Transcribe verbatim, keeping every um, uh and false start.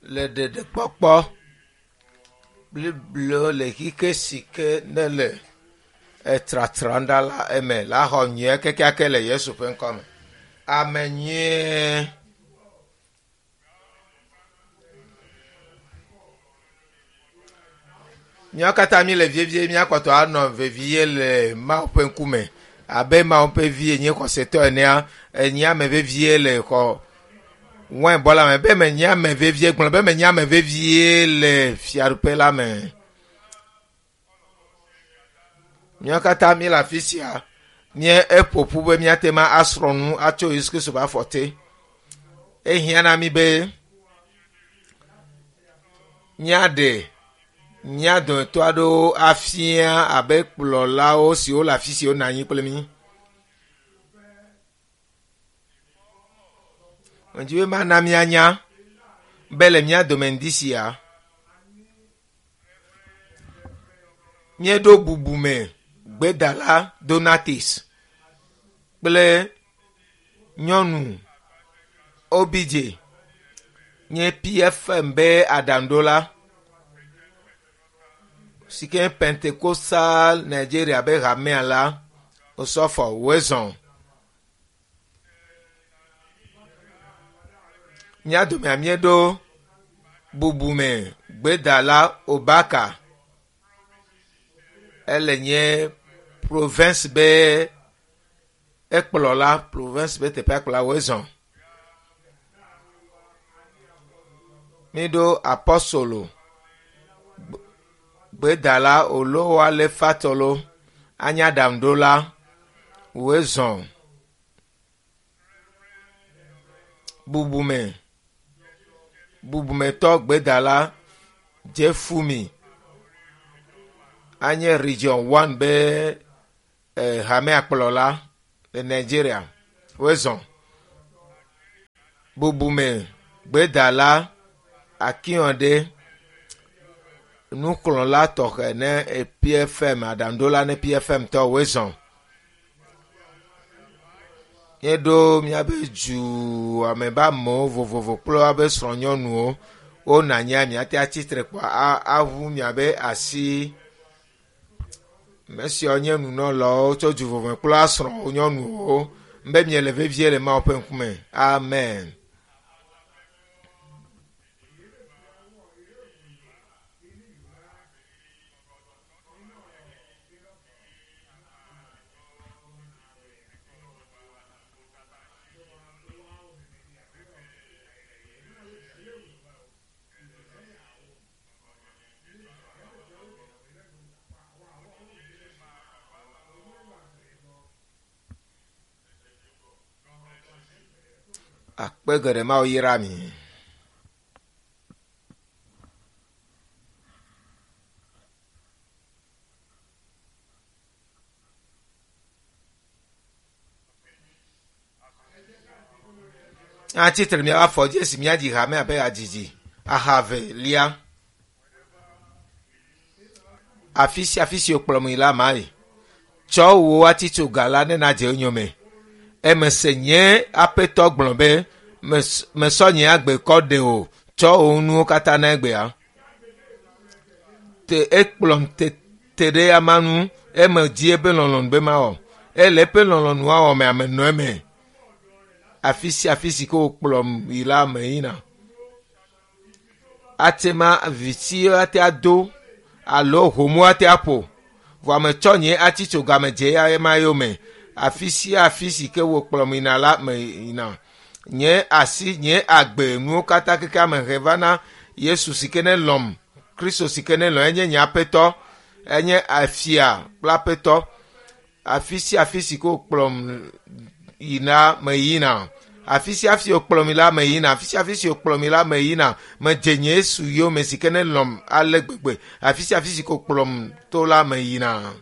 Le ɖeɖekpɔkpɔ blibo le xexe si ke ne le etratram ɖa la eme la xɔ nyuie kekeake le Yesu ƒe ŋkɔme. Ame nyuie. Míawo katã míele vevie míakpɔtɔ anɔ vevie le Mawu ƒe ŋkume abe Mawu ƒe vi enye xɔsetɔ enea enye ame vevie le xɔ wainbɔ la me be menye ame vevie gblɔ be menye ame vevie le fiaɖuƒe la me. Míawo katã míele afi sia mía eƒo ƒu be míate ma asrɔ̃ nu atso Yesu Kristo ƒe afɔ te. Ehiã na mí be míaɖe mía dometɔ aɖewo afia abe kplɔlawo siwo le afi si wonɔ anyi kple mí. Medzi be mana míanya be le mía dome ŋdi sia, míeɖo bubume gbedala Donatus kple nyɔnu Obidze nye PFM be aɖaŋuɖola si ke nye Pentecostal Nigeria be hamea la Osɔfo Wezɔn. Mía domea míeɖo bubume gbedala Obaka. Ele nye province be ekplɔla province be teƒea kplɔla Wezɔn. Míeɖo apɔstolo gbedala Olowale Fatɔlo anye aɖaŋuɖola Wezɔn. Bubume bubumetɔ gbedala Jefumi anye region one be eh, hamea kplɔla le Nigeria. Wezɔn. Bubume gbedala Akínyɔɖe nukplɔla tɔxɛ ne PFM aɖaŋuɖola ne PFM tɔ Wezɔn. Míeɖo míaƒe dua me be amewo vovovo kple woaƒe srɔ̃nyɔnuwo wonɔ anyia míate atsitre kpɔ aʋu miaƒe asi. Ame siawo nye nunɔlawo tso du vovovo me kple woa srɔ̃wo nyɔnuwo be miele vevie le Mawu ƒe ŋkume. Amen. Akpe geɖe Mawu yra mi. Atsitre míaƒe afɔ dzi esi míadzi hame abe hadzidzi aha eve lia. Afi sia afi si wokplɔm yi la ma yi. Tsɔ wò atitsoga la ne nadze enyome. Eme se nye aƒetɔ gblɔ be mesɔ nye agbe kɔ ɖe o. Tsɔ wò nuwo katã na egbea. Te ekplɔm te te ɖe ama nu eme dzi eƒe lɔlɔ̃nu be mawɔ. Ele eƒe lɔlɔ̃nua wɔ me ame nɔ eme. Afi sia afi si ke wokplɔm yi la me yina. Ate ma viti ate ado alo homo ate aƒo. Vɔ ame tsɔ nye atitsoga me dze ya ema yome. Afi sia afi si ke wokplɔm yina la me yina. Nye asi nye agbe nuwo katã keke ame he va na Yesu si ke ne lɔm. Kristo si ke ne lɔm enye nye aƒetɔ. Enye afia kple aƒetɔ. Afi sia afi si ke wokplɔm yina me yina. Afi sia afi wokplɔm yi la me yina. Afi sia afi si wokplɔm yi la me yina. Medze nye Yesu yome si ke ne lɔm ale gbegbe. Afi sia afi si ke wokplɔm to la me yina.